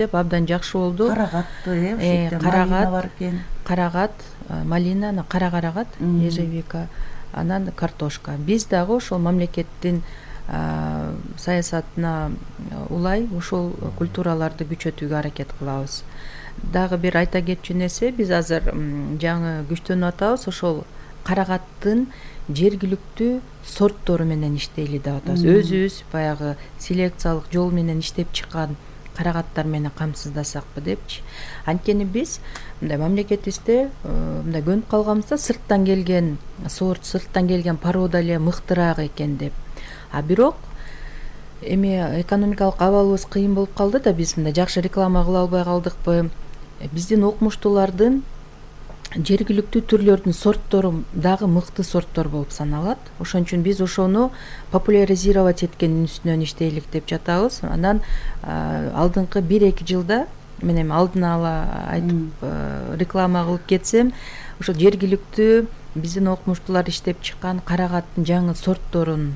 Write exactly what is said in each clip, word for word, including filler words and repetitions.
иштеп абдан жакшы болду. Карагатты э ошо карагат бар экен. Карагат, малина, кара карагат, ежевика, анан картошка. Биз дагы ошол мамлекеттин саясатына улай ушул культураларды күчөтүүгө аракет кылабыз. Дагы бир айта кетчү нерсе, биз азыр жаңы күчтөнүп атабыз, ошол карагаттын жергиликтүү сорттору менен иштейли деп атабыз. Өзүбүз баягы селекциялык жол менен иштеп чыккан карагаттар менен камсыздасакпы депчи. Анткени биз мындай мамлекетибизде мындай көнүп калганбыз да, сырттан келген сорт, сырттан келген порода эле мыктыраак экен деп. А бирок эми экономикалык абалыбыз кыйын болуп калды да, биз мындай жакшы реклама кыла албай калдыкпы. Биздин окумуштуулардын жергиликтүү түрлөрдүн сорттору дагы мыкты сорттор болуп саналат. Ошон үчүн биз ошону популяризировать эткендин үстүнөн иштейлик деп жатабыз. Анан алдыңкы бир-эки жылда, мен эми алдын ала айтып реклама кылып кетсем, ошо жергиликтүү биздин окумуштуулар иштеп чыккан карагаттын жаңы сортторун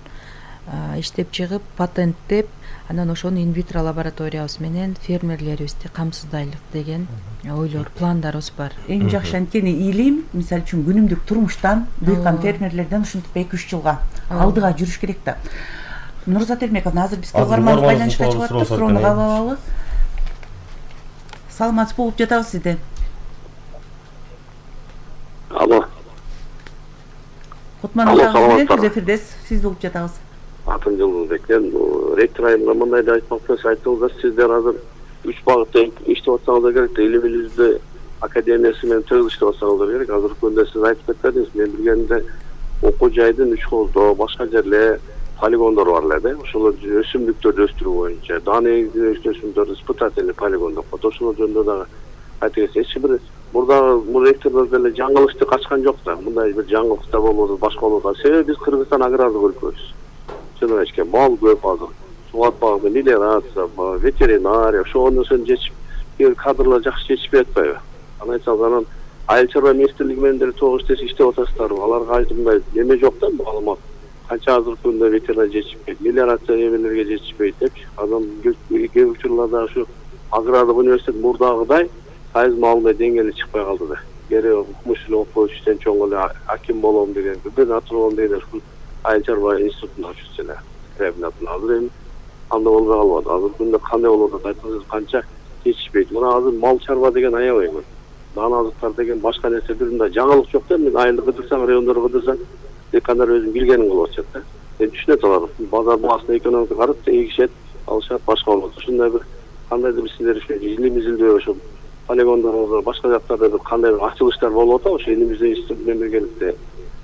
иштеп чыгып, патенттеп, анан ошону инвитро лабораториябыз менен фермерлерибизди камсыздайлык деген ойлор, пландарыбыз бар. Эң жакшы анткени илим, мисалы үчүн күнүмдүк турмуштан, дыйкан фермерлерден ушинтип эки-үч жылга алдыга жүрүш керек да. Нурзат Эрмековна, азыр бизге угарманыбыз байланышка чыгып атты, суроону кабыл алабыз. Саламатсыз болуп жатабыз сизди. Алло. Кутман атаңыз, көз эфирдесиз, сиз болуп жатабыз. Атын Жылдыбек. Ректор айымга мындай да айтмакчы, айтыңыздар, сиздер азыр үч багытта иштеп атсаңыздар керек. Илимибизди академиясы менен тыгыз иштеп атсаңыздар керек. Азыркы күндө сиз айтып кетпедиңиз, мен билгенимде окуу жайдын үч колдо, башка жерле полигондор бар эле да. Ошолор өсүмдүктөрдү өстүрүү боюнча, daa негизинде өсүмдүктөрдү испытательный полигон деп коет. Ошолор жөнүндө дагы айтып кетсеңиз. Эч бир мурда бул ректордор деле жаңылыкты качкан жок да. Мындай бир жаңылык да болбоду, башка болот. Себеби биз Кыргызстан агрардык өлкөбүз. Чынын мал көп азыр. Сугат багы, мелиорация, ветеринария, ошол нерсени чечип, кадрлар жакшы чечишпей атпайбы? Анан айтсаңыз, анан айыл чарба министрлиги менен деле тогуз иштешип иштеп атасыздарбы? Аларга айтымдай эме жок да, маалымат. Канча азыркы күндө ветеринария чечишпейт, мелиорация эмелерге чечишпейт депчи. Анан кээ учурларда ушу агрардык университет мурдагыдай сайыз маалымат деңгээли чыкпай калды да. Керек укмуш эле окуп иштен чоң эле аким болом деген, губернатор болом деген ушул айыл чарба институтун ачып эле. Ребнатын азыр эми анда болбой калбады. Азыркы күндө кандай болуп атат? Айтыңыз, канча чечишпейт. Мына азыр мал чарба деген аябай көп. Даана азыктар деген башка нерсе бир мындай жаңылык жок да. Мен айылды кыдырсаң, райондорду кыдырсаң, декандар өзүн билгенин кылып атышат да. Мен түшүнөт алар. Базар баасына экономика карап, эгишет, алышат, башка болот. Ушундай бир кандайдыр бир сиздер үчүн илим-изилдөө ошол полигондорго башка жактарда бир кандай бир ачылыштар болуп атабы? Ошо элимиздин институт менен биргеликте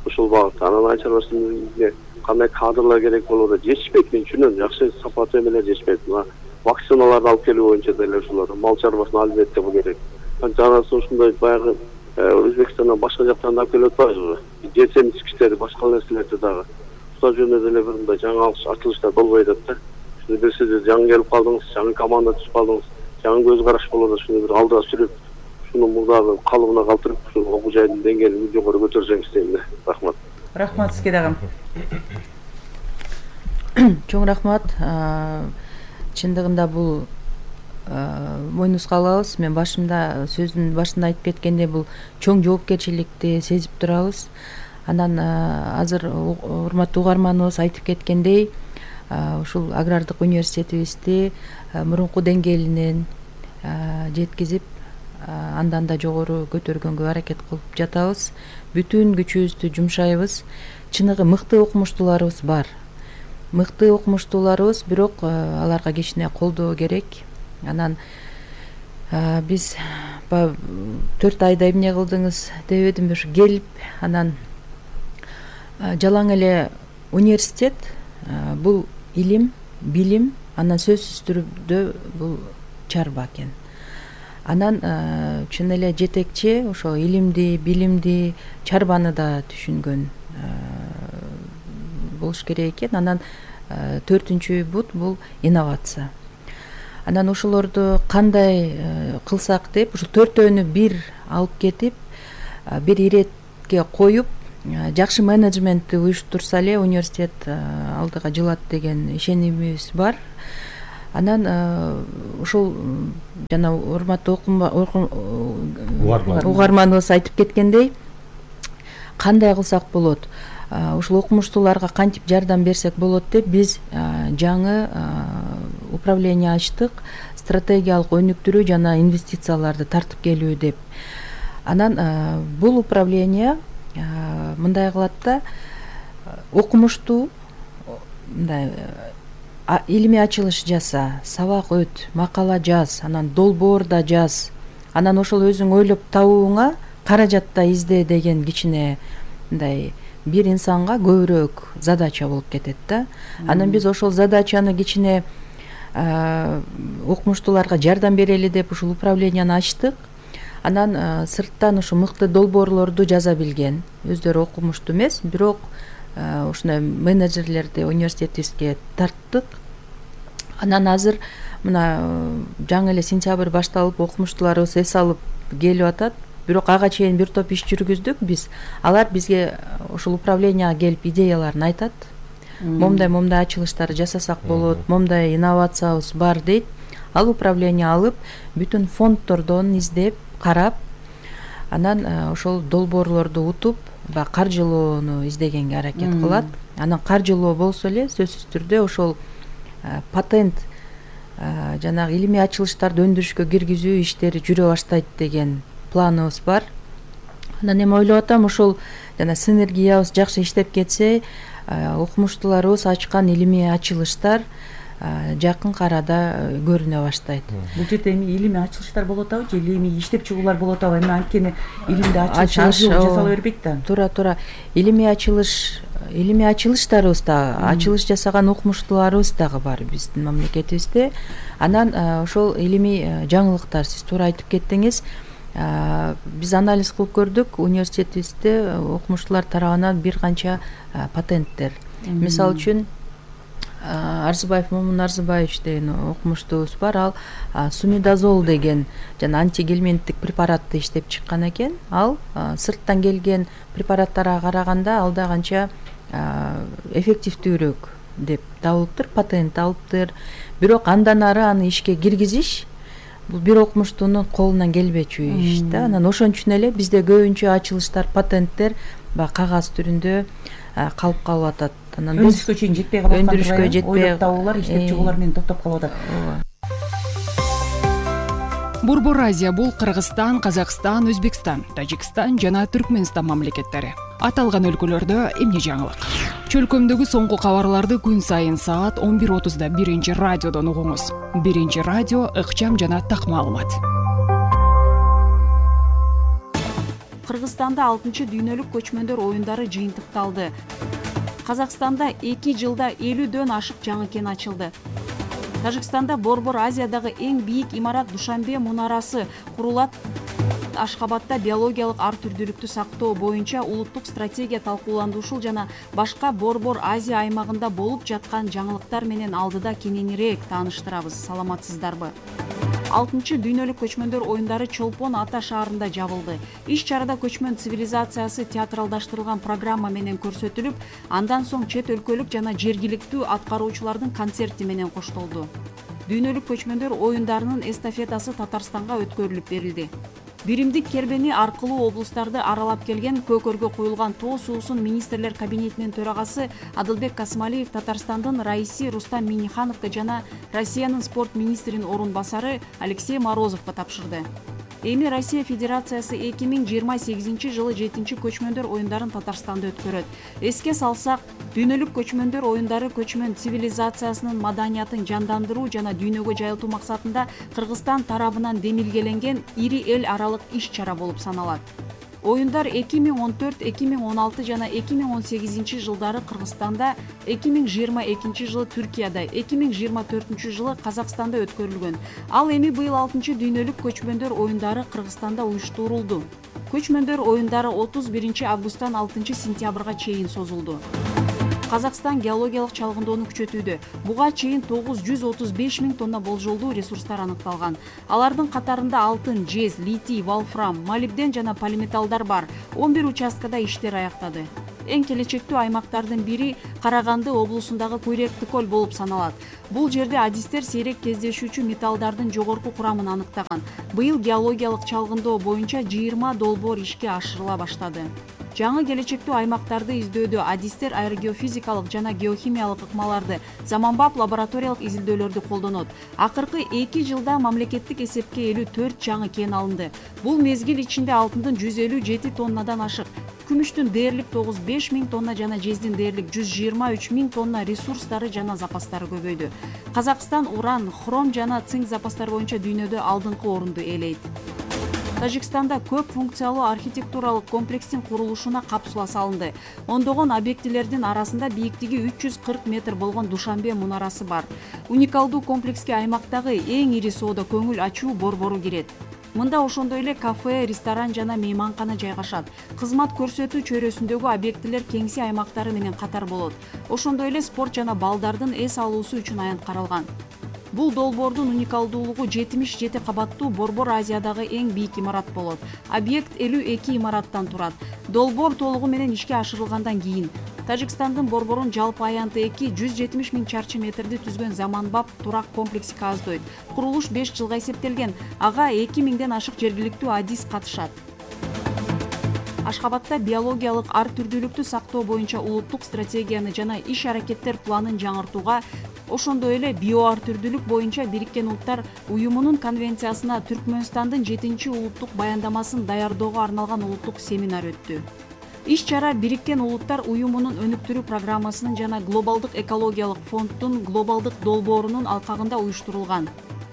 ушул багытта. Анан айыл чарбасында кандай кадрлар керек болуп атат? Жетишпейт, мен түшүнөм. Жакшы сапаттуу эмелер жетишпейт. Мына вакциналарды алып келүү боюнча деле ушулар мал чарбасына албетте бул керек. Жанагы ушундай баягы Өзбекстандан башка жактан алып келип атпайбызбы? Жетсем ичкичтери, башка нерселерди дагы. Ушул жөнүндө деле бир мындай жаңы ачылыштар болбой атат да. Шуну бир сиз жаңы келип калдыңыз, жаңы команда түзүп калдыңыз, жаңы көз караш болуп атат. Шуну бир алдыга сүрүп, шуну мурдагы калыбына калтырып, ушул окуу жайдын деңгээлин жогору көтөрсөңүз дейм да. Рахмат. Рахмат сизге дагы. Чоң рахмат. Чындыгында бул мойнубузга алабыз. Мен башында сөздүн башында айтып кеткендей, бул чоң жоопкерчиликти сезип турабыз. Анан азыр урматтуу угарманыбыз айтып кеткендей, ушул агрардык университетибизди мурунку деңгээлинен жеткизип, андан да жогору көтөргөнгө аракет кылып жатабыз. Бүтүн күчүбүздү жумшайбыз. Чыныгы мыкты окумуштууларыбыз бар. Мыкты окумуштууларыбыз, бирок аларга кичине колдоо керек. Анан биз төрт айда эмне кылдыңыз дебедимби, ушу келип, анан жалаң эле университет бул илим, билим, анан сөзсүз түрдө бул чарба экен. Анан чын эле жетекчи ошо илимди, билимди, чарбаны да түшүнгөн болуш керек экен. Анан төртүнчү бут бул инновация. Анан ошолорду кандай кылсак деп, ушу төртөөнү бир алып кетип, бир иретке коюп, жакшы менеджментти уюштурса эле университет алдыга жылат деген ишенимибиз бар. Анан ушул жана урматтуу угарманыбыз айтып кеткендей, кандай кылсак болот, ушул окумуштууларга кантип жардам берсек болот деп биз жаңы управление ачтык, стратегиялык өнүктүрүү жана инвестицияларды тартып келүү деп. Анан бул управление мындай кылат да, окумуштуу мындай илимий ачылыш жаса, сабак өт, макала жаз, анан долбоор да жаз, анан ошол өзүң ойлоп табууңа каражат да изде деген кичине мындай бир инсанга көбүрөөк задача болуп кетет да. Анан биз ошол задачаны кичине окумуштууларга жардам берели деп ушул управленияны ачтык. Анан сырттан ушу мыкты долбоорлорду жаза билген, өздөрү окумуштуу эмес, бирок ушундай менеджерлерди университетибизге тарттык. Анан азыр мына жаңы эле сентябрь башталып, окумуштууларыбыз эс алып келип атат. Бирок ага чейин бир топ иш жүргүздүк биз. Алар бизге ушул управленияга келип идеяларын айтат. Момдай момдай ачылыштар жасасак болот, момдай инновациябыз бар дейт. Ал управление алып, бүтүн фонддордон издеп, карап, анан ошол долбоорлорду утуп, баягы каржылоону издегенге аракет кылат. Анан каржылоо болсо эле сөзсүз түрдө ошол патент жанагы илимий ачылыштарды өндүрүшкө киргизүү иштери жүрө баштайт деген планыбыз бар. Анан эми ойлоп атам, ошол жана синергиябыз жакшы иштеп кетсе, окумуштууларыбыз ачкан илимий ачылыштар жакын арада көрүнө баштайт. Бул жерде эми илимий ачылыштар болот атабы же илимий иштеп чыгуулар болот атабы? Эми анткени илимди ачылыш жасала бербейт да. Туура туура. Илимий ачылыш, илимий ачылыштарыбыз да, ачылыш жасаган окумуштууларыбыз дагы бар биздин мамлекетибизде. Анан ошол илимий жаңылыктар, сиз туура айтып кеттиңиз. Биз анализ кылып көрдүк, университетибизде окумуштуулар тарабынан бир канча патенттер. Мисалы үчүн Арзыбаев Момун Арзыбаевич деген окумуштуубуз бар. Ал сумидазол деген жана антигельминттик препаратты иштеп чыккан экен. Ал сырттан келген препараттарга караганда алда канча эффективдүүрөөк деп табылыптыр, патент алыптыр. Бирок андан ары аны ишке киргизиш бул бир окумуштуунун колунан келбечү иш да. Анан ошон үчүн эле бизде көбүнчө ачылыштар, патенттер баягы кагаз түрүндө калып калып атат. Анан өндүрүшкө чейин жетпей калат, өндүрүшкө жетпей ойлоп табуулар, иштеп чыгуулар менен токтоп калып атат. Борбор Азия бул Кыргызстан, Казакстан, Өзбекстан, Тажикстан жана Түркмөнстан мамлекеттери. Аталган өлкөлөрдө эмне жаңылык? Чөлкөмдөгү соңку кабарларды күн сайын саат он бир отузда биринчи радиодон угуңуз. Биринчи радио ыкчам жана так маалымат. Кыргызстанда алтынчы дүйнөлүк көчмөндөр оюндары жыйынтыкталды. Казакстанда эки жылда элүүдөн ашык жаңы кен ачылды. Тажикстанда Борбор Азиядагы эң бийик имарат Душанбе мунарасы курулат. Ашхабадда биологиялык ар түрдүүлүктү сактоо боюнча улуттук стратегия талкууландырушул жана башка Борбор Азия аймагында болуп жаткан жаңылыктар менен алдыда кененирээк тааныштырабыз. Саламатсыздарбы? алтынчы дүйнөлүк көчмөндөр оюндары Чолпон Ата шаарында жабылды. Иш чарада көчмөн цивилизациясы театралдаштырылган программа менен көрсөтүлүп, андан соң чет өлкөлүк жана жергиликтүү аткаруучулардын концерти менен коштолду. Дүйнөлүк көчмөндөр оюндарынын эстафетасы Татарстанга өткөрүлүп берилди. Биримдик кербени аркылуу облустарды аралап келген көкөргө куюлган тоо суусун министрлер кабинетинин төрагасы Адылбек Касмалиев Татарстандын раиси Рустам Минихановго жана Россиянын спорт министринин орун басары Алексей Морозовго тапшырды. Эми Россия Федерациясы эки миң жыйырма сегизинчи жылы жетинчи көчмөндөр оюндарын Татарстанда өткөрөт. Эске салсак, дүйнөлүк көчмөндөр оюндары көчмөн цивилизациясынын маданиятын жандандыруу жана дүйнөгө жайылтуу максатында Кыргызстан тарабынан демилгеленген ири эл аралык иш-чара болуп саналат. Оюндар эки миң он төрт, эки миң он алты жана эки миң он сегизинчи жылдары Кыргызстанда, эки миң жыйырма экинчи жылы Түркияда, эки миң жыйырма төртүнчү жылы Казакстанда өткөрүлгөн. Ал эми быйыл алтынчы дүйнөлүк көчмөндөр оюндары Кыргызстанда уюштурулду. Көчмөндөр оюндары отуз биринчи августтан алтынчы сентябрга чейин созулду. Казакстан геологиялык чалгындоону күчөтүүдө. Буга чейин тогуз жүз отуз беш миң тонна болжолдуу ресурстар аныкталган. Алардын катарында алтын, жез, литий, волфрам, молибден жана полиметаллдар бар. он бир участкада иштер аяктады. эң келечектүү аймактардын бири Караганды облусундагы Куйректи көл болуп саналат. Бул жерде адистер сейрек кездешүүчү металлдардын жогорку курамын аныктаган. Быйыл геологиялык чалгындоо боюнча жыйырма долбоор ишке ашырыла баштады. Жаңы келечектүү аймактарды издөөдө адистер аэрогеофизикалык жана геохимиялык ыкмаларды, заманбап лабораториялык изилдөөлөрдү колдонот. Акыркы эки жылда мамлекеттик эсепке элүү төрт жаңы кен алынды. Бул мезгил ичинде алтындын жүз элүү жети тоннадан ашык, күмүштүн дээрлик тогуз беш миң тонна жана жездин дээрлик жүз жыйырма үч миң тонна ресурстары жана запастары көбөйдү. Казакстан уран, хром жана цинк запастары боюнча дүйнөдө алдыңкы орунду ээлейт. Тажикстанда көп функциялуу архитектуралык комплекстин курулушуна капсула салынды. Ондогон объектилердин арасында бийиктиги үч жүз кырк метр болгон Душанбе мунарасы бар. Уникалдуу комплекске аймактагы эң ири соода көңүл ачуу борбору кирет. Мында ошондой эле кафе, ресторан жана мейманкана жайгашат. Кызмат көрсөтүү чөйрөсүндөгү объектилер кеңси аймактары менен катар болот. Ошондой эле спорт жана балдардын эс алуусу үчүн аянт каралган. Бул долбоордун уникалдуулугу жетимиш жети кабаттуу Борбор Азиядагы эң бийик имарат болот. Объект элүү эки имараттан турат. Долбоор толугу менен ишке ашырылгандан кийин Тажикстандын борборун жалпы аянты эки жүз жетимиш миң чарчы метрди түзгөн заманбап турак комплекси кааздойт. Курулуш беш жылга эсептелген. Ага эки миңден ашык жергиликтүү адис катышат. Ашхабадда биологиялык ар түрдүүлүктү сактоо боюнча улуттук стратегияны жана иш-аракеттер планын жаңыртууга, ошондой эле био ар түрдүүлүк боюнча Бириккен Улуттар Уюмунун конвенциясына Түркмөнстандын жетинчи улуттук баяндамасын даярдоого арналган улуттук семинар өттү. Иш-чара Бириккен Улуттар Уюмунун өнүктүрүү программасынын жана Глобалдык экологиялык фонддун глобалдык долбоорунун алкагында уюштурулган.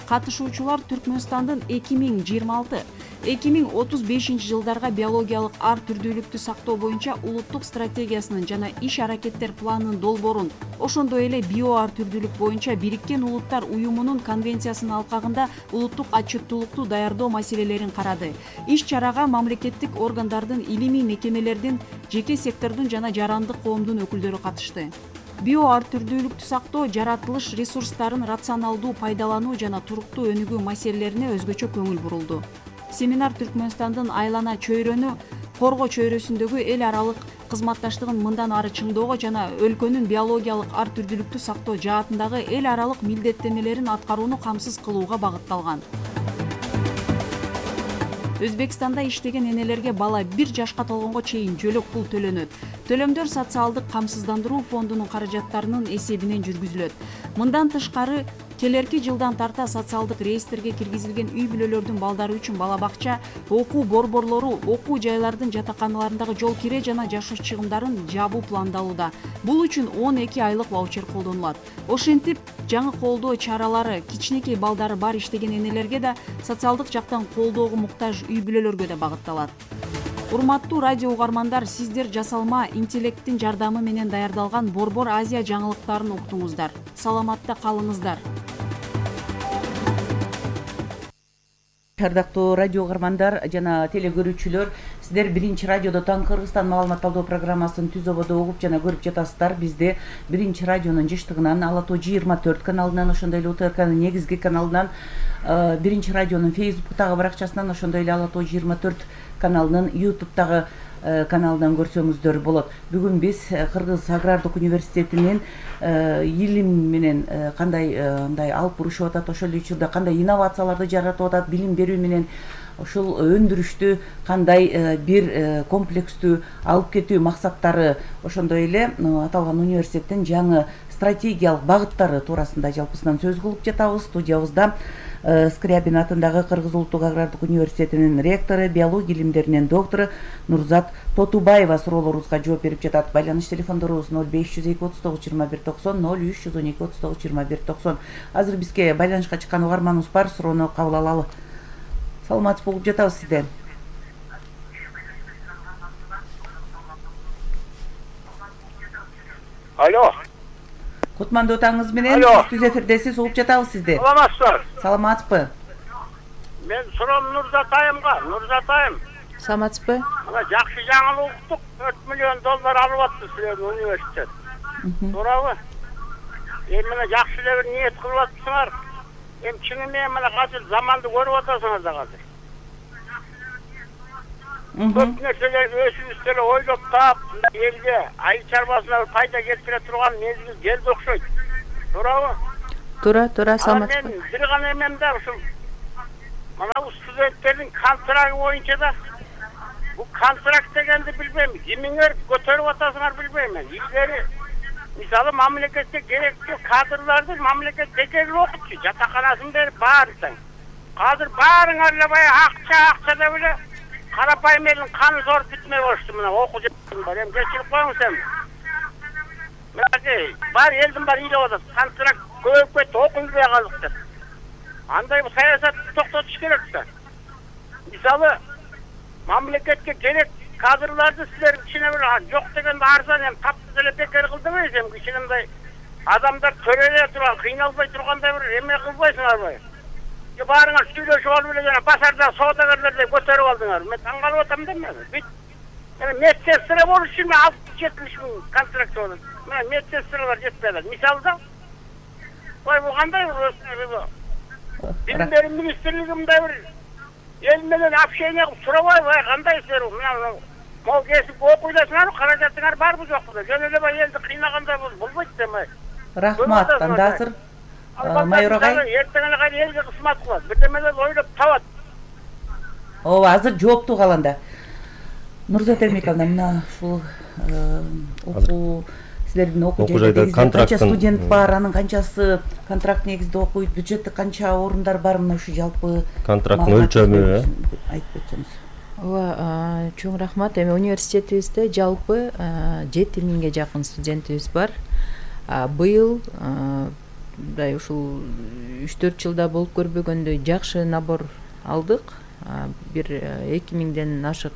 Катышуучулар Түркмөнстандын эки миң жыйырма алты эки миң отуз бешинчи жылдарга биологиялык ар түрдүүлүктү сактоо боюнча улуттук стратегиясынын жана иш-аракеттер планынын долбоорун, ошондой эле био ар түрдүүлүк боюнча Бириккен Улуттар Уюмунун конвенциясынын алкагында улуттук отчеттуулукту даярдоо маселелерин карады. Иш-чарага мамлекеттик органдардын, илимий мекемелердин, жеке сектордун жана жарандык коомдун өкүлдөрү катышты. Био ар түрдүүлүктү сактоо, жаратылыш ресурстарын рационалдуу пайдалануу жана туруктуу өнүгүү маселелерине өзгөчө көңүл бурулду. Семинар Түркмөнстандын айлана чөйрөнү коргоо чөйрөсүндөгү эл аралык кызматташтыгын мындан ары чыңдоого жана өлкөнүн биологиялык ар түрдүүлүктү сактоо жаатындагы эл аралык милдеттенмелерин аткарууну камсыз кылууга багытталган. Өзбекстанда иштеген энелерге бала бир жашка толгонго чейин жөлөк пул төлөнөт. Төлөмдөр социалдык камсыздандыруу фондунун каражаттарынын эсебинен жүргүзүлөт. Мындан тышкары, келерки жылдан тарта социалдык реестрге киргизилген үй бүлөлөрдүн балдары үчүн бала бакча, окуу борборлору, окуу жайлардын жатаканаларындагы жол кире жана жашоо чыгымдарын жабуу пландалууда. Бул үчүн он эки айлык ваучер колдонулат. Ошентип, жаңы колдоо чаралары кичинекей балдары бар иштеген энелерге да, социалдык жактан колдоого муктаж үй бүлөлөргө да багытталат. Урматтуу радио угармандар, сиздер жасалма интеллекттин жардамы менен даярдалган Борбор Азия жаңылыктарын уктуңуздар. Саламатта калыңыздар. Ардактуу радио угармандар жана телекөрүүчүлөр, сиздер биринчи радиодо Таң Кыргызстан маалыматталдоо программасын түз ободо угуп жана көрүп жатасыздар. Бизде биринчи радионун жыштыгынан, Ала тоо жыйырма төрт каналынан, ошондой эле УТРКнын негизги каналынан, биринчи радионун Фейсбуктагы баракчасынан, ошондой эле Ала тоо жыйырма төрт каналынын ютубтагы каналынан көрсөңүздөр болот. Бүгүн биз Кыргыз агрардык университетинин илим менен кандай мындай алып бурушуп атат, ошол эле учурда кандай инновацияларды жаратып атат, билим берүү менен ушул өндүрүштү кандай бир комплекстүү алып кетүү максаттары, ошондой эле аталган университеттин жаңы стратегиялык багыттары туурасында жалпысынан сөз кылып жатабыз. Студиябызда Скрябин атындагы Кыргыз улуттук агрардык университетинин ректору, биология илимдеринин доктору Нурзат Тотубаева суроолорубузга жооп берип жатат. Байланыш телефондорубуз ноль беш жүз эки отуз тогуз жыйырма бир токсон, ноль үч жүз он эки отуз тогуз жыйырма бир токсон. Азыр бизге байланышка чыккан угарманыбыз бар, суроону кабыл алалы. Саламатсызбы, угуп жатабыз сизди. Алло. Кутмандуу таңыңыз менен, түз эфирдесиз, угуп жатабыз сизди. Саламатсызбы? Саламатсызбы? Мен суроом Нурзатайымга. Нурзатайым. Саламатсызбы? Мына жакшы жаңылык уктук, төрт миллион доллар алып атты силердин университет. Туурабы? Эми мына жакшы эле бир ниет кылып атсыңар. Эми чыны менен мына азыр заманды көрүп атасыңар да азыр. көп нерселерди өзүбүз деле ойлоп таап элге айыл чарбасына пайда келтире турган мезгил келди окшойт. Туурабы? туура туура саламат. Мен бир гана эмем да ушул мына студенттердин контрагы боюнча да бул контракт дегенди билбейм, кимиңер көтөрүп атасыңар билбейм мен. Илгери мисалы мамлекетке керектүү кадрларды мамлекет бекер окутчу, жатаканасын берип баарын. Азыр баарыңар эле баягы акча акча деп эле карапайым элдин каны соруп бүтмөй болушту. Мына окуу жетим бар, эми кечирип коюңуз эми. Мынакей бар элдин баары ыйлап атат, контракт көбөйүп кетти, окуйбай калдык деп. Андай бул саясатты токтотуш керек да. Мисалы мамлекетке керек кадрларды силер кичине бир жок дегенде арзан эми таптыз эле бекер кылдыңыз, эми кичинемдей адамдар төрөлө турган, кыйналбай тургандай бир эме кылбайсыңарбы? Же баарыңар сүйлөшүп алып эле жана базарда соодагерлердей көтөрүп алдыңар. Мен таң калып атам да мен. Бүт эми медсестра болуш үчүн алтымыш жетимиш миң контракт болот. Мына медсестралар жетпей атат. Мисалда ой бул кандай бир билим берүү министрлиги мындай бир эл менен общение кылып сурабайбы, кандай силер мына мол кесип окуйдасыңарбы, каражатыңар барбы жокпу деп. Жөн эле баягы элди кыйнагандай болбойт демей. Рахмат. Анда азыр майор агай эртең эле кайра элге кызмат кылат, бирдемелерди ойлоп табат. ооба, азыр жооптуу калганда Нурзат Эрмековна, мына ушул окуу силердин окуу жайда канча студент бар, анын канчасы контракт негизинде окуйт, бюджетте канча орундар бар, мына ушу жалпы контракттын өлчөмү айтып өтсөңүз. Ооба, чоң рахмат. Эми университетибизде жалпы жети миңге жакын студентибиз бар. Быйыл мындай ушул үч төрт жылда болуп көрбөгөндөй жакшы набор алдык. Бир эки миңден ашык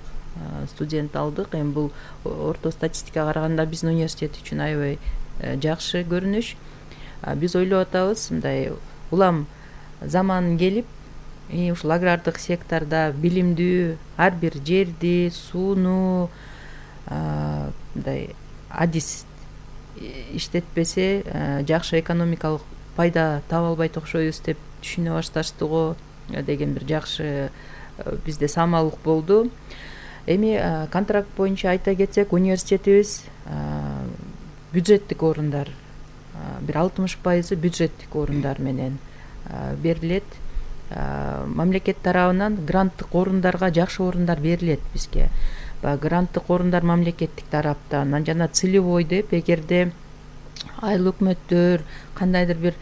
студент алдык. Эми бул орто статистикага караганда биздин университет үчүн аябай жакшы көрүнүш. Биз ойлоп атабыз, мындай улам заман келип, ушул агрардык сектордо билимдүү ар бир жерди, сууну мындай адис иштетпесе жакшы экономикалык пайда таба албайт окшойбуз деп түшүнө башташты го деген бир жакшы бизде самалдык болду. Эми контракт боюнча айта кетсек, университетибиз бюджеттик орундар бир алтымыш пайызы бюджеттик орундар менен берилет. Мамлекет тарабынан гранттык орундарга жакшы орундар берилет бизге. Баягы гранттык орундар мамлекеттик тараптан жана целевой деп, эгерде айыл өкмөттөр кандайдыр бир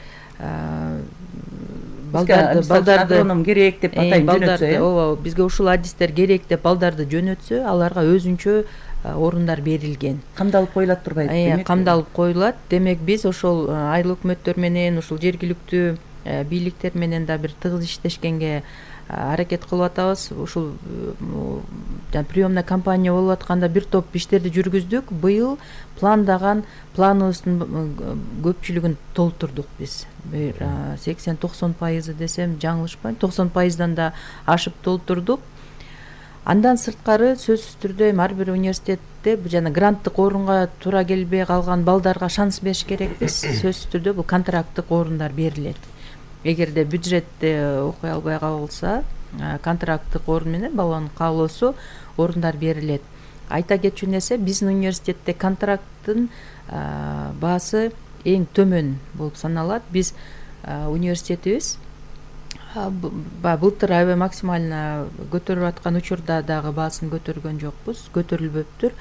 балдарды балдарды керек деп атайын жөнөтсө, ооба, бизге ушул адистер керек деп балдарды жөнөтсө, аларга өзүнчө орундар берилген. Камдалып коюлат турбайбы демек? Камдалып коюлат. Демек биз ошол айыл өкмөттөр менен, ушул жергиликтүү бийликтер менен да бир тыгыз иштешкенге аракет кылып атабыз. Ушул приемный компания болуп атканда бир топ иштерди жүргүздүк. Быйыл пландаган планыбыздын көпчүлүгүн толтурдук биз. Бир сексен токсон пайызы десем жаңылышпайм, токсон пайыздан да ашып толтурдук. Андан сырткары сөзсүз түрдө ар бир университетте жана гранттык орунга туура келбей калган балдарга шанс бериш керекпиз. Сөзсүз түрдө бул контракттык орундар берилет. Эгерде бюджетте окуй албай калса, контракттык орун менен баланын каалоосу орундар берилет. Айта кетчү нерсе, биздин университетте контракттын баасы эң төмөн болуп саналат. Биз университетибиз былтыр аябай максимально көтөрүп аткан учурда дагы баасын көтөргөн жокпуз, көтөрүлбөптүр.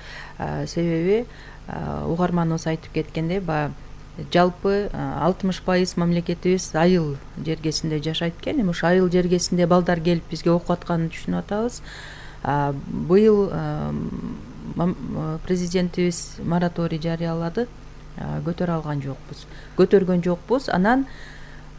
Себеби угарманыбыз айтып кеткендей, баягы жалпы алтымыш пайыз мамлекетибиз айыл жергесинде жашайт экен. Эми ушу айыл жергесинде балдар келип бизге окуп атканын түшүнүп атабыз. Быйыл президентибиз мораторий жарыялады, көтөрө алган жокпуз. Көтөргөн жокпуз. Анан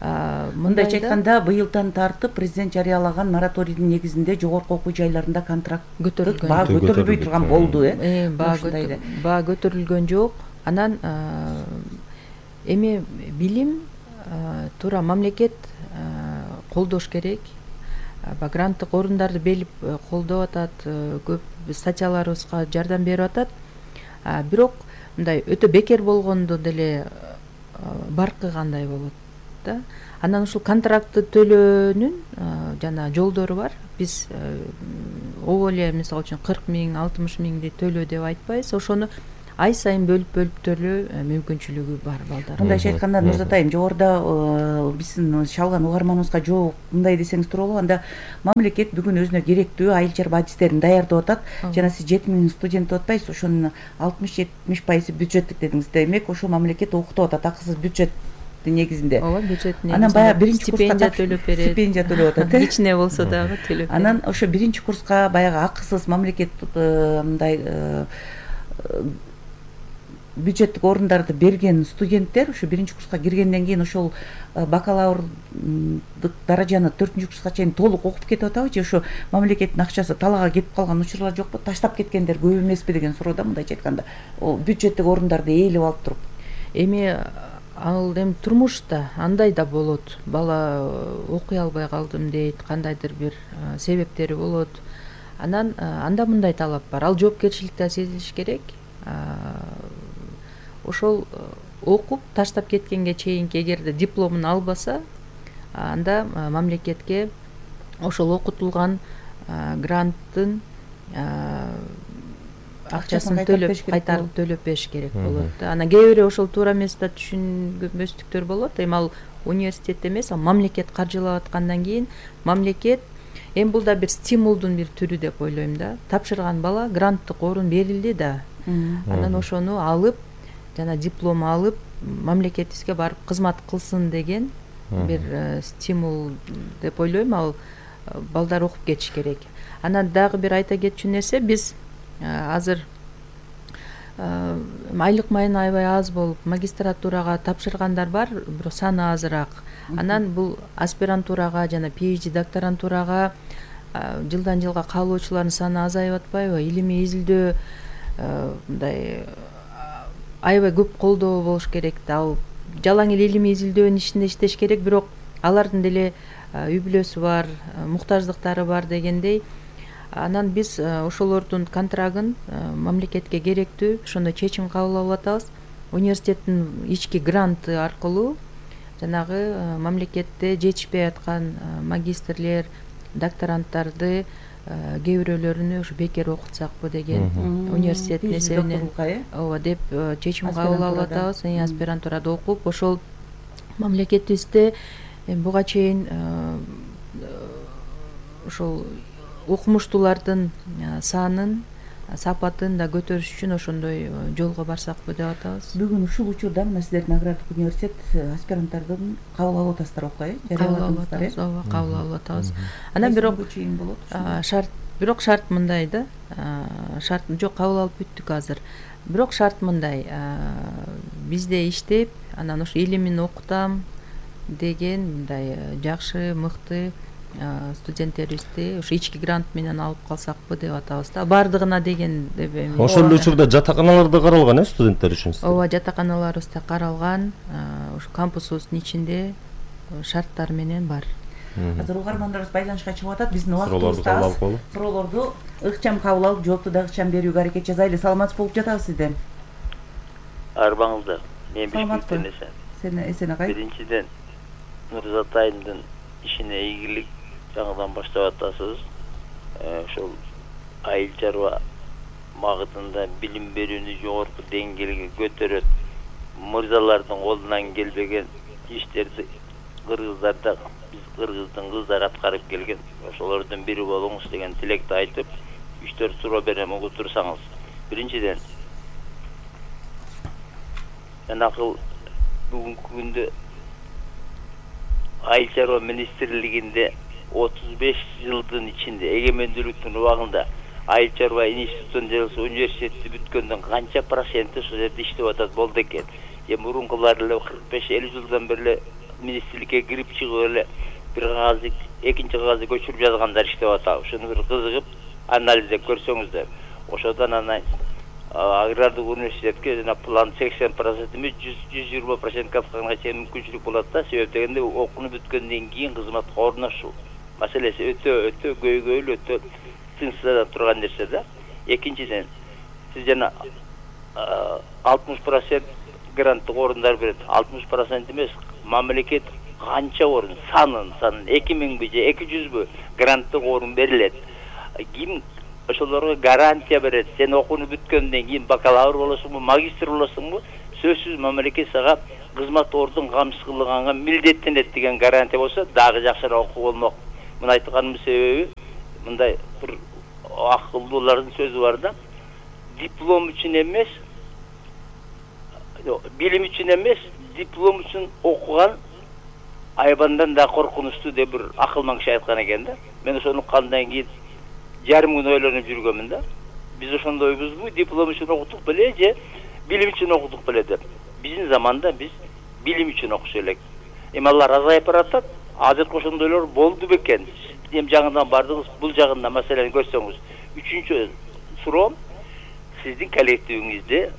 мындайча айтканда, быйылдан тартып президент жарыялаган мораторийдин негизинде жогорку окуу жайларында контракт баа көтөрүлбөй турган болду, э? Баа көтөрүлгөн жок. Анан эми билим туура мамлекет колдош керек. Гранттык орундарды белип колдоп атат, көп статьяларыбызга жардам берип атат. Бирок мындай өтө бекер болгондо деле баркыгандай болот да. Анан ушул контрактты төлөөнүн жана жолдору бар. Биз обо эле мисалы үчүн кырк миң алтымыш миңди төлөө деп айтпайбыз, ошону ай сайын бөлүп бөлүп төлөө мүмкүнчүлүгү бар балдар. Мындайча айтканда Нурзатайым, жогоруда биздин шалган угарманыбызга жооп мындай десеңиз тууралуу, анда мамлекет бүгүн өзүнө керектүү айыл чарба адистерин даярдап атат. Жана сиз жети миң студент деп атпайсыз, ошонун алтымыш жетимиш пайызы бюджеттик дедиңиз. Демек ошо мамлекет окутуп атат акысыз бюджет негизинде. Ооба, бюджет негизинде. Анан баягы биринчи стипендия төлөп берет. Стипендия төлөп атат, э? Кичине болсо дагы төлөп берет. Анан ошо биринчи курска баягы акысыз мамлекет мындай бюджеттик орундарды берген студенттер ошо биринчи курска киргенден кийин ошол бакалаврдык даражаны төртүнчү курска чейин толук окуп кетип атабы, же ошо мамлекеттин акчасы талаага кетип калган учурлар жокпу? Таштап кеткендер көп эмеспи деген суроо да, мындайча айтканда. О бюджеттик орундарды ээлеп алып туруп. Эми ал эми турмушта андай да болот. Бала окуй албай калдым дейт, кандайдыр бир себептери болот. Анан анда мындай талап бар. Ал жоопкерчиликти сезилиш керек. Ошол окуп таштап кеткенге чейинки эгерде дипломун албаса, анда мамлекетке ошол окутулган гранттын акчасын төлөп кайтарып төлөп бериш керек болот. Анан кээ бирөө ошол туура эмес да түшүнбөстүктөр болот. Эми ал университет эмес, ал мамлекет каржылап аткандан кийин мамлекет эми бул да бир стимулдун бир түрү деп ойлойм да. Тапшырган бала гранттык орун берилди да. Анан ошону алып жана диплом алып мамлекетибизге барып кызмат кылсын деген бир стимул деп ойлойм. Ал балдар окуп кетиш керек. Анан дагы бир айта кетчү нерсе, биз азыр айлык майын аябай аз болуп магистратурага тапшыргандар бар, бирок саны азыраак. Анан бул аспирантурага жана PhD докторантурага жылдан жылга кабылуучулардын саны азайып атпайбы? Илимий изилдөө мындай аябай көп колдоо болуш керек да. Ал жалаң эле илимий изилдөөнүн ичинде иштеш керек, бирок алардын деле үй бүлөсү бар, муктаждыктары бар дегендей. Анан биз ошолордун контрагын мамлекетке керектүү ошондой чечим кабыл алып атабыз. Университеттин ички гранты аркылуу жанагы мамлекетте жетишпей аткан магистрлер, докторанттарды кээ бирөөлөрүнү ушу бекер окутсакпы деген университеттин эсебинен ооба деп чечим кабыл алып атабыз. Аспирантурада окуп ошол мамлекетибизде буга чейин ошол окумуштуулардын санын, сапатын да көтөрүш үчүн ошондой жолго барсакпы деп атабыз. Бүгүн ушул учурда мына сиздердин агрардык университет аспиранттардын кабыл алып атасыздар окуй, э? Кабыл алып атабыз, ооба, кабыл алып атабыз. Анан бирок шарт, бирок шарт мындай да. Шарт жок, кабыл алып бүттүк азыр. Бирок шарт мындай: бизде иштеп, анан ошо илимин окутам деген мындай жакшы, мыкты студенттерибизди ушу ички грант менен алып калсакпы деп атабыз да. Бардыгына деген деп эми. Ошол эле учурда жатаканалар да каралган, э, студенттер үчүн? Ооба, жатаканаларыбыз да каралган. Ушу кампусубуздун ичинде шарттар менен бар. Азыр угармандарыбыз байланышка чыгып атат. Биздин убактыбыз аз. Суроолорду ыкчам кабыл алып, жоопту да ыкчам берүүгө аракет жасайлы. Саламатсыз болуп жатабыз сизде. Арбаңызда. Мен Бишкектен эсен. Сен эсен агай. Биринчиден Нурзатайымдын ишине ийгилик жаңыдан баштап атасыз. Ошол айыл чарба багытында билим берүүнү жогорку деңгээлге көтөрөт. Мырзалардын колунан келбеген иштерди кыргыздарда биз кыргыздын кыздары аткарып келген. Ошолордун бири болуңуз деген тилекти айтып, үч төрт суроо берем, угуп турсаңыз. Биринчиден, жанакы бүгүнкү күндө айыл чарба министрлигинде отуз беш жылдын ичинде эгемендүүлүктүн убагында айыл чарба институтун же болбосо университетти бүткөндүн канча проценти ошол жерде иштеп атат болду экен. Эми мурункулар эле кырк беш элүү жылдан бери эле министрликке кирип чыгып эле бир кагазды экинчи кагазды көчүрүп жазгандар иштеп атат. Ошону бир кызыгып анализдеп көрсөңүздөр. Ошодон анан агрардык университетке жана план сексен процент эмес жүз жыйырма процентке атканга чейин мүмкүнчүлүк болот да. Себеп дегенде окууну бүткөндөн кийин кызматка орношуу маселеси өтө өтө көйгөйлүү, өтө тынчсызда турган нерсе да. Экинчиден, сиз жана алтымыш процент гранттык орундар берет. алтымыш процент эмес, мамлекет канча орун, санын, санын эки миңби же эки жүзбү гранттык орун берилет. ким ошолорго гарантия берет? Сен окууну бүткөндөн кийин бакалавр болосуңбу, магистр болосуңбу, сөзсүз мамлекет сага кызмат ордун камсыз кылганга милдеттенет деген гарантия болсо дагы жакшыраак окуу болмок. Муну айтканымдын себеби мындай бир акылдуулардын сөзү бар да. Диплом үчүн эмес, билим үчүн эмес, диплом үчүн окуган айбандан да коркунучтуу деп бир акылман киши айткан экен да. Мен ошону уккандан кийин жарым күн ойлонуп жүргөмүн да. Биз ошондойбузбу, диплом үчүн окудук беле же билим үчүн окудук беле деп. Биздин заманда биз билим үчүн окуш элек. Эми алар азайып баратат. Азыркы ошондойлор болду бекен. Эми жаңыдан бардыңыз, бул жагында маселени көрсөңүз. Үчүнчү суроом, сиздин коллективиңизде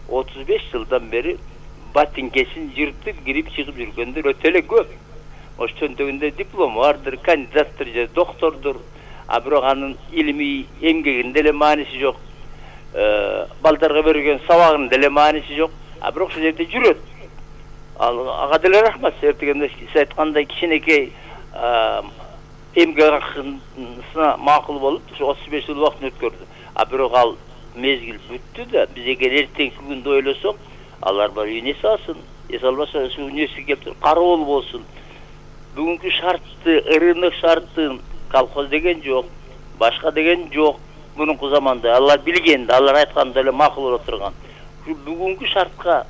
отуз беш жылдан бери батинкесин жыртып кирип чыгып жүргөндөр өтө эле көп. Ош чөнтөгүндө диплом бардыр, кандидаттыр же доктордур, а бирок анын илимий эмгегинде эле мааниси жок. Балдарга берген сабагынын деле мааниси жок, а бирок ошол жерде жүрөт. Ал ага деле рахмат. Себеп дегенде сиз айткандай кичинекей эмгек акысына макул болуп, ошо отуз беш жыл убакытын өткөрдү. А бирок ал мезгил бүттү да, биз эгер эртеңки күндү ойлосок, алар бар үйүнө эс алсын, эс албаса ушу университетке келип кароол болсун. Бүгүнкү шартты, рынок шартын колхоз деген жок, башка деген жок. Мурунку заманда алар билген да, алар айтканда эле макул боло турган. Бүгүнкү шартка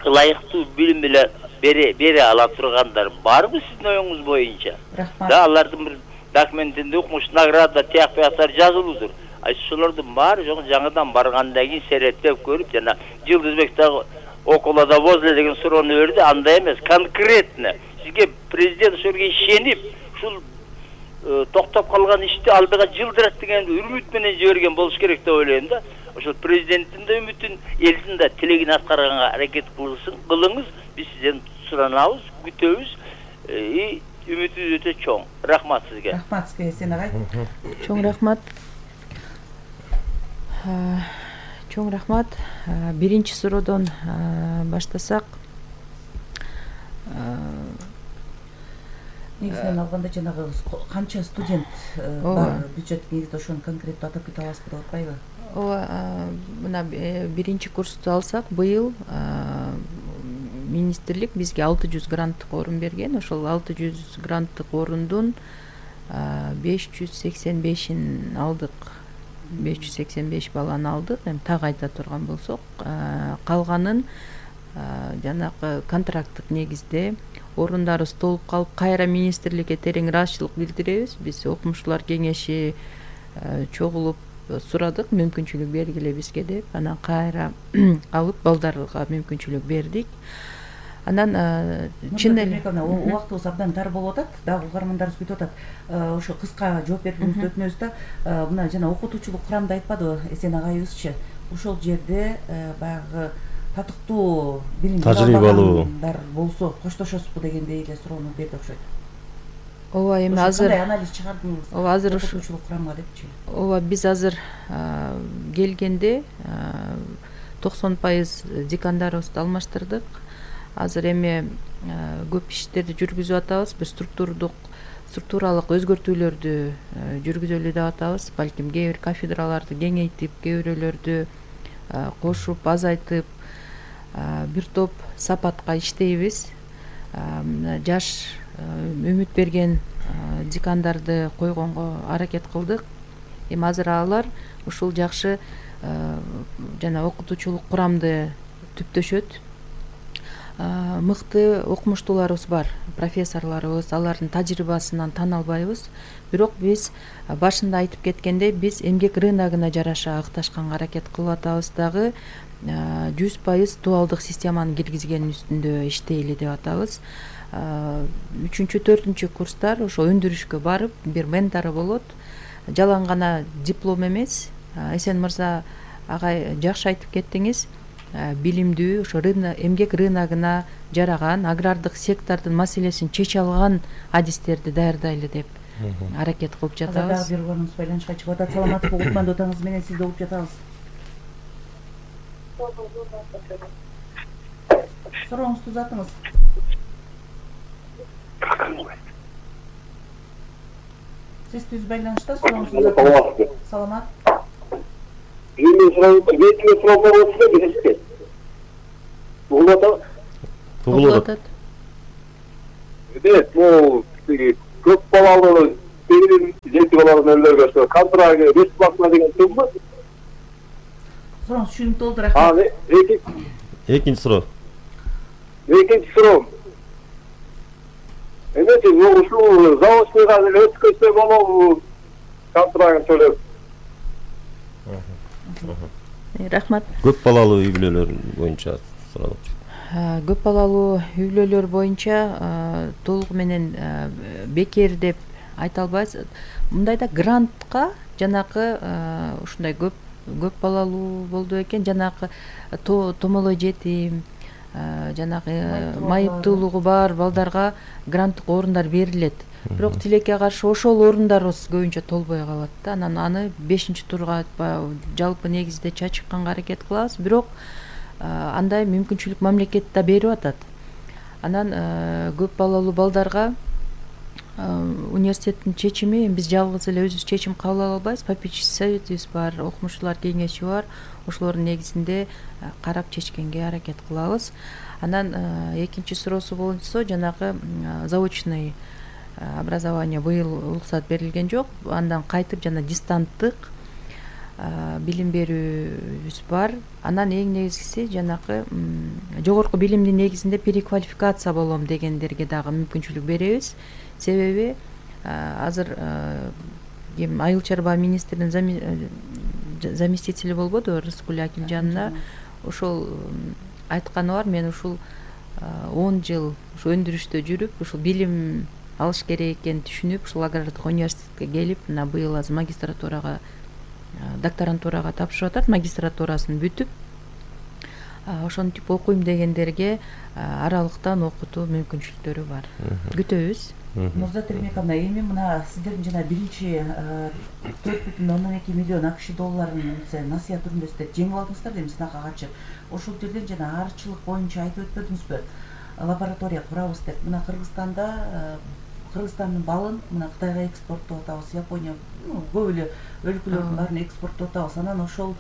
ылайыктуу билим эле бере бере ала тургандар барбы сиздин оюңуз боюнча? Рахмат. Да, алардын бир документинде укмуш награда тияк бияктар жазылуудур. А ошолордун баары жок, жаңыдан баргандан кийин сереттеп көрүп, жана Жылдызбек дагы около да возле деген суроону берди, андай эмес, конкретно. Сизге президент ошолорго ишенип, ушул токтоп калган ишти алдыга жылдырат деген үмүт менен жиберген болуш керек деп ойлойм да. Ошол президенттин да үмүтүн, элдин да тилегин аткарганга аракет кылыңыз. Биз сизден суранабыз, күтөбүз. И үмүтүбүз өтө чоң. Рахмат сизге. Рахмат сизге, Эсен агай. Чоң рахмат. Чоң рахмат. Биринчи суроодон баштасак, негизинен алганда жанагы канча студент бар бюджет негизинде ошону конкреттүү атап кете аласызбы деп атпайбы? Ооба, мына биринчи курсту алсак, быйыл министрлик бизге алты жүз гранттык орун берген. Ошол алты жүз гранттык орундун беш жүз сексен бешин алдык. беш жүз сексен беш баланы алдык. Эми так айта турган болсок, калганын жанагы контракттык негизде орундарыбыз толуп калып, кайра министрликке терең ыраазычылык билдиребиз. Биз окумуштуулар кеңеши чогулуп сурадык, мүмкүнчүлүк бергиле бизге деп, анан кайра алып балдарга мүмкүнчүлүк бердик. Анан чын эле убактыбыз абдан тар болуп атат, дагы угармандарыбыз күтүп атат. Ошо кыска жооп бергениңизди өтүнөбүз да. Мына жана окутуучулук курамды айтпадыбы Эсен агайыбызчы? Ошол жерде баягы татыктуу билим алгандар болсо коштошосузбу дегендей эле суроону берди окшойт. Ооба, эми азыр кандай анализ чыгардыңыз? Ооба, азыр окутуучулук курамга депчи. Ооба, биз азыр келгенде токсон пайыз декандарыбызды алмаштырдык. Азыр эми көп иштерди жүргүзүп атабыз. Бир структурдук структуралык өзгөртүүлөрдү жүргүзөлү деп атабыз. Балким кээ бир кафедраларды кеңейтип, кээ бирөөлөрдү кошуп, азайтып, бир топ сапатка иштейбиз. Жаш үмүт берген декандарды койгонго аракет кылдык. Эми азыр алар ушул жакшы жана окутуучулук курамды түптөшөт. Мыкты окумуштууларыбыз бар, профессорлорубуз, алардын тажрыйбасынан тана албайбыз. Бирок биз башында айтып кеткендей, биз эмгек рыногуна жараша ыкташканга аракет кылып атабыз дагы. жүз пайыз дуалдык системаны киргизген үстүндө иштейли деп атабыз. үчүнчү, төртүнчү курстар ошо өндүрүшкө барып, бир ментору болот. Жалаң гана диплом эмес. Эсен мырза агай жакшы айтып кеттиңиз. Билимдүү, ошо эмгек рыногуна жараган, агрардык сектордун маселесин чече алган адистерди даярдайлы деп аракет кылып жатабыз. Дагы бир угунуз байланышка чыгып атат. Саламатсызбы, Кутмандуу атаңыз менен сизди угуп жатабыз. Сурооңузду узатыңыз. Сиз түз байланышта сурооңузду. Саламат. Биздин сурообуз сурообуз бересизби? Угулуп атат? Угулуп атат. Демек, бул көп балалуу жети балалуу нөлөргө ошо контракт бесплатно деген турбу? Сурооңуз түшүнүктүү болду, рахмат. Экинчи суроо. Экинчи суроо. Эмнеси ушул заочныйга деле өткөзсө болобу контрактын төлөп? Рахмат. Көп балалуу үй бүлөлөр боюнча суралып. Көп балалуу үй бүлөлөр боюнча толугу менен бекер деп айта албайбыз. Мындайда грантка жанакы ушундай көп көп балалуу болду экен, жанакы томолой жетим, жанагы майыптуулугу бар балдарга гранттык орундар берилет. Бирок тилекке каршы ошол орундарыбыз көбүнчө толбой калат да. Анан аны бешинчи турга жалпы негизде чачыкканга аракет кылабыз, бирок андай мүмкүнчүлүк мамлекет да берип атат. Анан көп балалуу балдарга университеттин чечими, биз жалгыз эле өзүбүз чечим кабыл ала албайбыз. Попечительский советибиз бар, окумуштуулар кеңеши бар. Ошолордун негизинде карап чечкенге аракет кылабыз. Анан экинчи суроосу боюнча жанагы заочный образование быйыл уруксат берилген жок. Андан кайтып жана дистанттык билим берүүбүз бар. Анан эң негизгиси жанакы жогорку билимдин негизинде переквалификация болом дегендерге дагы мүмкүнчүлүк беребиз. Себеби азыр ким Айыл чарба министринин заместители болбодубу, Рыскүл Акимжановна, ошол айтканы бар. Мен ушул он жыл ушу өндүрүштө жүрүп, ушул билим алыш керек экенин түшүнүп, ушул агрардык университетке келип, мына быйыл азыр магистратурага, докторантурага тапшырып атат. Магистратурасын бүтүп, ошентип окуйм дегендерге аралыктан окутуу мүмкүнчүлүктөрү бар. Күтөбүз. Нурзат Эрмековна, эми мына сиздердин жана биринчи төрт бүтүн ондон эки миллион акш долларын насыя түрүндө сиздер жеңип алдыңыздар дейм, сынакка катышып. Ошол жерден жана арчылык боюнча айтып өтпөдүңүзбү? Лаборатория курабыз деп. Мына Кыргызстанда Кыргызстандын балын мына Кытайга экспорттоп атабыз, Япония, көп эле өлкөлөрдүн баарын экспорттоп атабыз. Анан ошол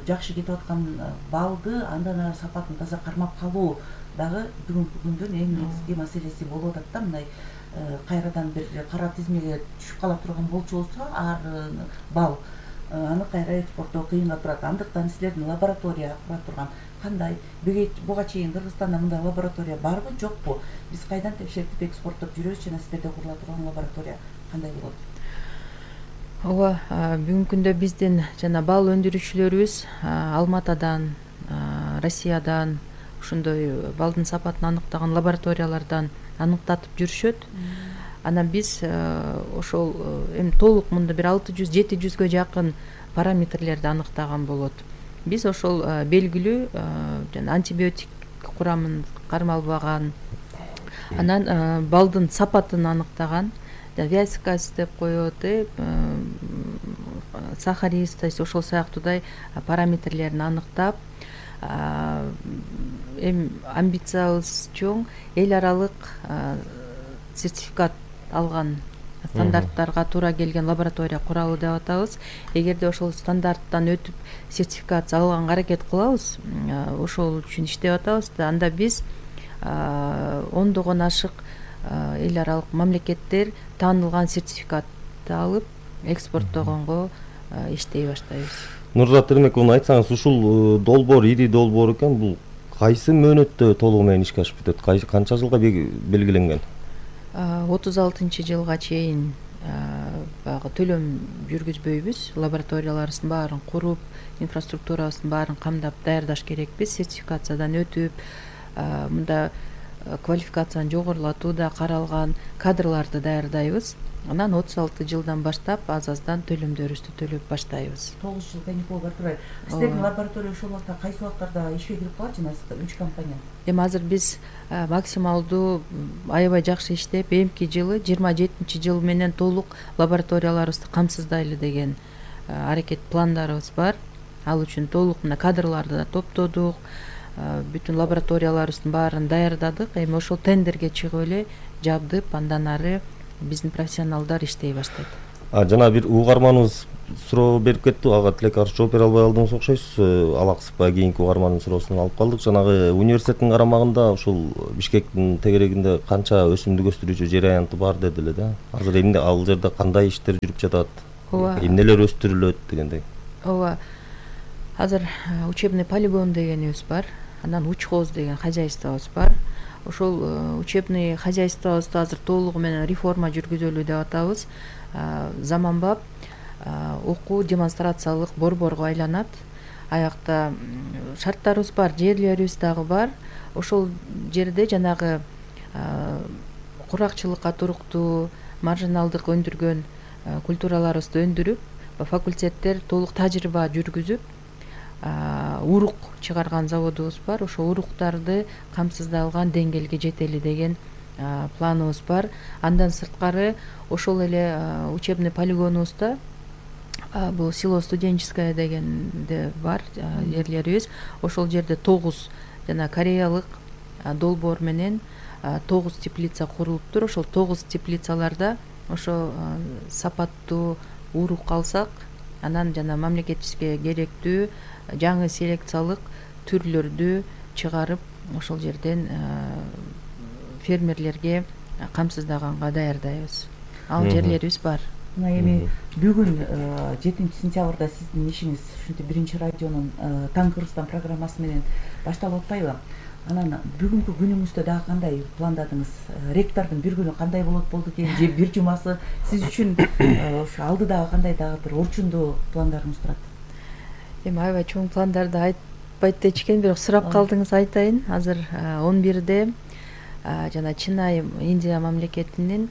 жакшы кетип аткан балды андан ары сапатын таза кармап калуу дагы бүгүнкү күндүн эң негизги маселеси болуп атат да. Мындай кайрадан бир кара тизмеге түшүп кала турган болчу болсо, ар бал аны кайра экспорттоо кыйынга турат. Андыктан силердин лаборатория кура турган кандай, буга чейин Кыргызстанда мындай лаборатория барбы, жокпу? Биз кайдан текшертип экспорттоп жүрөбүз жана силерде курула турган лаборатория кандай болот? Ооба, бүгүнкү күндө биздин жана бал өндүрүүчүлөрүбүз Алматадан, Россиядан ушундай балдын сапатын аныктаган лабораториялардан аныктатып жүрүшөт. Анан биз ошол эми толук мында бир алты жүз жети жүзгө жакын параметрлерди аныктаган болот. Биз ошол белгилүү жана антибиотик курамын кармалбаган, анан балдын сапатын аныктаган, вязкость деп коет, сахаристость, ошол сыяктуудай параметрлерин аныктап, эми амбициябыз чоң, эл аралык сертификат алган, стандарттарга туура келген лаборатория куралы деп атабыз. Эгерде ошол стандарттан өтүп сертификация алганга аракет кылабыз, ошол үчүн иштеп атабыз. Анда биз ондогон ашык эл аралык мамлекеттер таанылган сертификатты алып экспорттогонго иштей баштайбыз. Нурзат Эрмековна, айтсаңыз, ушул долбоор ири долбоор экен, бул кайсы мөөнөттө толугу менен ишке ашып бүтөт? Канча жылга белгиленген? отуз алтынчы жылга чейин баягы төлөм жүргүзбөйбүз. Лабораторияларыбыздын баарын куруп, инфраструктурабыздын баарын камдап даярдаш керекпиз. Сертификациядан өтүп, мында квалификацияны жогорулатууда каралган кадрларды даярдайбыз. Анан отуз алты жылдан баштап аз-аздан төлөмдөрүбүздү төлөп баштайбыз. тогуз жыл каникул бар турат. Сиздердин лаборатория ошол убакта кайсы убактарда ишке кирип калат жана үч компания? Эми азыр биз максималдуу аябай жакшы иштеп, эмки жылы жыйырма жетинчи жыл менен толук лабораторияларыбызды камсыздайлы деген аракет пландарыбыз бар. Ал үчүн толук мына кадрларды да топтодук, бүтүн лабораторияларыбыздын баарын даярдадык. Эми ошол тендерге чыгып эле жабдып, андан ары биздин профессионалдар иштей баштайт. А жана бир угарманыбыз суроо берип кетти, ага тилек каршы жооп бере албай калдыңыз окшойсуз. Алаксызбай кийинки угармандын суроосун алып калдык. Жанагы университеттин карамагында ушул Бишкектин тегерегинде канча өсүмдүк өстүрүүчү жер аянты бар деди эле да. Азыр эмне ал жерде кандай иштер жүрүп жатат? Ооба. Эмнелер өстүрүлөт дегендей. Ооба. Азыр учебный полигон дегенибиз бар. Анан учхоз деген хозяйствобуз бар. Ошол учебный хозяйствобузду азыр толугу менен реформа жүргүзөлү деп атабыз. Заманбап окуу демонстрациялык борборго айланат. Аякта шарттарыбыз бар, жерлерибиз дагы бар. Ошол жерде жанагы куракчылыкка туруктуу, маржиналдык өндүргөн культураларыбызды өндүрүп, факультеттер толук тажрыйба жүргүзүп, урук чыгарган заводубуз бар. Ошол уруктарды камсыздалган деңгээлге жетели деген планыбыз бар. Андан сырткары ошол эле учебный полигонубузда бул село студенческое дегенде бар жерлерибиз. Ошол жерде тогуз жана кореялык долбоор менен тогуз теплица курулуптур. Ошол тогуз теплицаларда ошо сапаттуу урук алсак, анан жана мамлекетибизге керектүү жаңы селекциялык түрлөрдү чыгарып, ошол жерден фермерлерге камсыздаганга даярдайбыз. Ал жерлерибиз бар. Мына эми бүгүн жетинчи сентябрда сиздин ишиңиз ушинтип биринчи радионун Таң Кыргызстан программасы менен башталып атпайбы? Анан бүгүнкү күнүңүздө дагы кандай пландадыңыз? Ректордун бир күнү кандай болот болду экен, же бир жумасы сиз үчүн ошо алдыдагы кандай дагы бир орчундуу пландарыңыз турат? Эми аябай чоң пландарды айтпайт дечкен, бирок сурап калдыңыз, айтайын. Азыр он бирде жана Чинай Индия мамлекетинин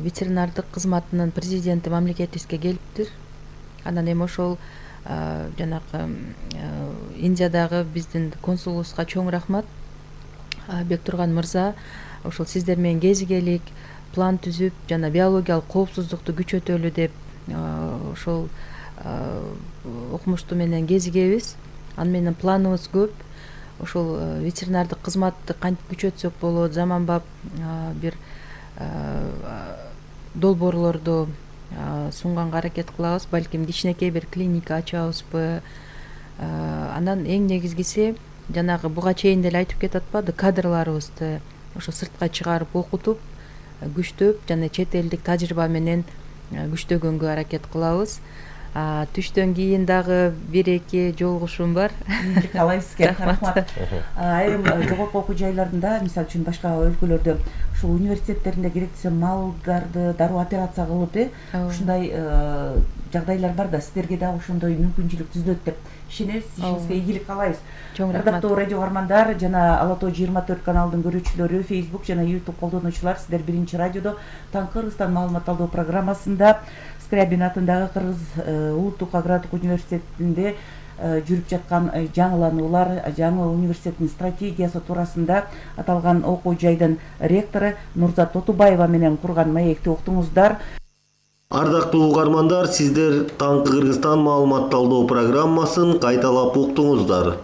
ветеринардык кызматынын президенти мамлекетибизге келиптир. Анан эми ошол жанагы Индиядагы биздин консулубузга чоң рахмат. Бектурган мырза ошол сиздер менен кезигелик, план түзүп, жана биологиялык коопсуздукту күчөтөлү деп ошол окумушту менен кезигебиз. Аны менен планыбыз көп. Ошол ветеринардык кызматты кантип күчөтсөк болот, заманбап бир долбоорлорду сунганга аракет кылабыз. Балким кичинекей бир клиника ачабызбы. Анан эң негизгиси жанагы буга чейин деле айтып кетип атпады, кадрларыбызды ошо сыртка чыгарып окутуп, күчтөп жана чет элдик тажрыйба менен күчтөгөнгө аракет кылабыз. Түштөн кийин дагы бир эки жолугушуум бар. Ийгилик каалайбыз сизге. Рахмат. Айрым жогорку окуу жайларында, мисалы үчүн башка өлкөлөрдө ушул университеттеринде керек десе малдарды дароо операция кылып, э, ушундай жагдайлар бар да, сиздерге дагы ошондой мүмкүнчүлүк түзүлөт деп ишенебиз. Ишиңизге ийгилик каалайбыз. Чоң рахмат. Ырдактуу радио угармандар жана Ала Тоо жыйырма төрт каналдын көрүүчүлөрү, Facebook жана YouTube колдонуучулар, сиздер биринчи радиодо Таң Кыргызстан маалымат алуу программасында Скрябин атындагы Кыргыз улуттук агрардык университетинде жүрүп жаткан жаңылануулар, жаңы университеттин стратегиясы туурасында аталган окуу жайдын ректору Нурзат Тотубаева менен курган маекти уктуңуздар. Ардактуу угармандар, сиздер Таң Кыргызстан маалыматталдоо программасын кайталап уктуңуздар.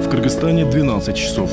В Кыргызстане двенадцать часов.